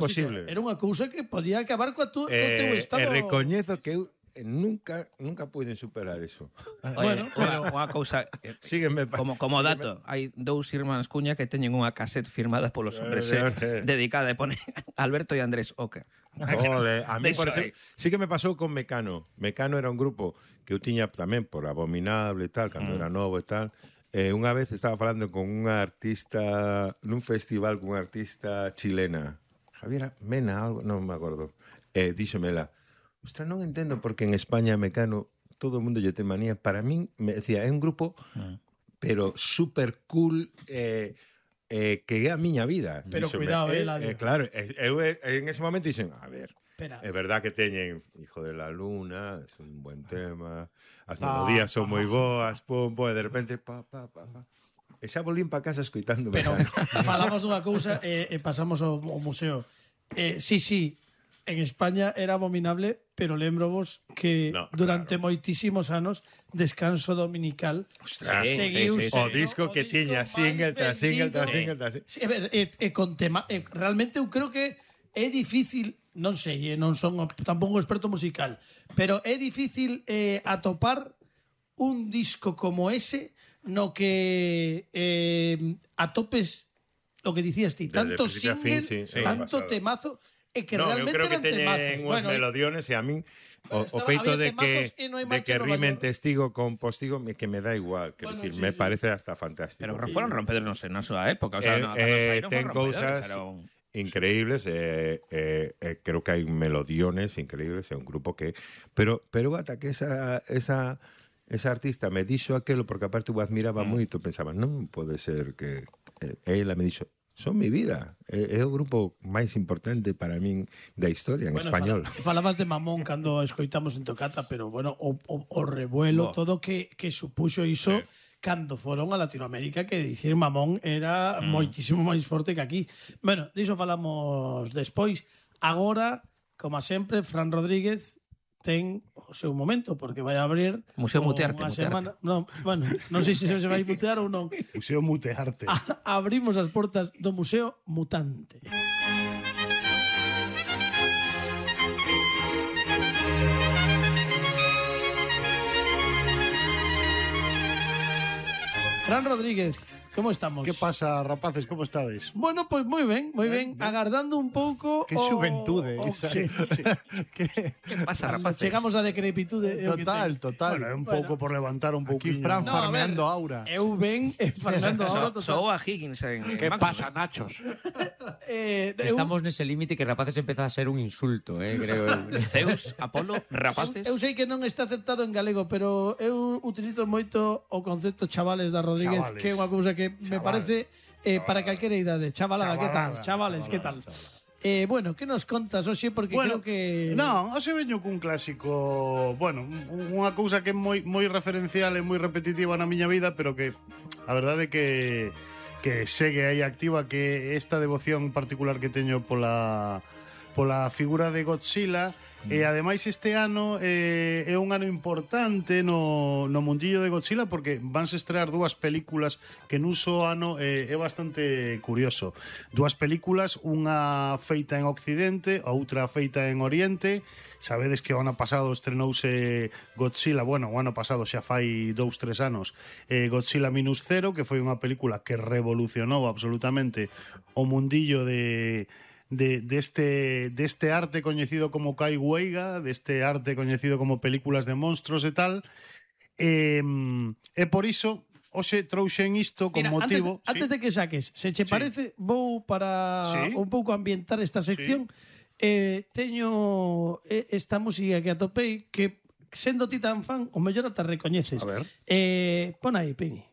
posible. Era unha cousa que podía acabar co teu estado. Recoñezo que eu nunca puiden superar eso. Bueno, unha cousa Sígueme, como dato, hai dous irmáns Cuña que teñen unha cassette firmada polos hombres dedicada e pone Alberto e Andrés Oca. Ole, a mí por exemplo, sí que me pasou con Mecano. Mecano era un grupo que eu tiña tamén por Abominable e tal, cando era novo e tal. Unha vez estaba falando con unha artista nun festival con unha artista chilena, Javiera Mena, algo, non me acordo. Díxomela, ostras, non entendo porque en España Mecano todo o mundo lle ten manía. Para min, me decía, é un grupo pero super cool, que é a miña vida. Pero díxome, cuidado, Eladio. Claro, eu en ese momento dixen, a ver, Espera. é verdad que teñen Hijo de la Luna, é un buen tema, as melodías son moi boas, pum, pum, e de repente, pa. E xa volvín para casa escoitando. Pero falamos dunha cousa e pasamos ao museo. Sí, en España era Abominable, pero lembrovos que durante moitísimos anos Descanso Dominical seguiu o disco que tiña single tras single tras single tras single. Sí, a ver, con tema, realmente eu creo que é difícil, non sei, non son tampouco un experto musical, pero é difícil atopar un disco como ese no que atopes lo que dicías ti, tanto single, tanto temazo, e que realmente eran temazos. Bueno, melodiones e a min o feito de que rimen testigo con postigo que me dá igual, que decir, me parece hasta fantástico. Pero foron rompedores na súa época, o sea, ten cousas increíbles, creo que hai melodiones increíbles, é un grupo que pero ata que esa artista me dixo aquelo, porque aparte eu admiraba moito, pensaba, non pode ser que ela me dixo, son mi vida, é o grupo máis importante para min da historia en español. Falabas de Mamón cando escoitamos en Tocata, pero bueno, o revuelo, todo que supuxo iso cando foron a Latinoamérica, que dicir Mamón era moitísimo máis forte que aquí. Bueno, diso falamos despois. Agora, como sempre, Fran Rodríguez ten o seu momento, porque vai abrir Museo Mutearte. Non, bueno, non sei se se vai mutear ou non. Museo Mutearte. Abrimos as portas do Museo Mutante. Fran Rodríguez, como estamos? Que pasa, rapaces, como estades? Bueno, pois moi ben, agardando un pouco. Que xuventude esa. Sí. Que pasa, rapaces? Chegamos a decrepitude. Total. Bueno, un pouco por levantar un pouquinho. Aquí Fran farmeando aura. Eu ben farmeando aura total. Sou a Higgins en Que pasa, Nachos? Estamos nese límite que rapaces empeza a ser un insulto, creo eu. Zeus, Apolo, rapaces. Eu sei que non está aceptado en galego, pero eu utilizo moito o concepto chavales da Rodríguez, que é unha cousa que me parece para calquera idade. Chavalada, que tal? Chavales, que tal? Bueno, que nos contas hoxe? Porque creo que... Non, hoxe veño cun clásico, bueno, unha cousa que é moi referencial e moi repetitiva na miña vida, pero que a verdade é que segue aí activa, que esta devoción particular que teño pola figura de Godzilla. E ademais este ano é un ano importante no mundillo de Godzilla, porque vanse estrear dúas películas que nun só ano é bastante curioso. Dúas películas, unha feita en Occidente, outra feita en Oriente. Sabedes que o ano pasado estrenouse Godzilla, bueno, o ano pasado xa fai 2-3 anos, Godzilla Minus Zero, que foi unha película que revolucionou absolutamente o mundillo deste arte coñecido como Kai Weiga, deste arte coñecido como películas de monstruos e tal. E por iso hoxe trouxen isto con motivo... Antes de que saques, se che parece, vou para un pouco ambientar esta sección. Teño esta música que atopei, que sendo ti tan fan, o mellor te recoñeces. A ver. Pon aí, Peñi.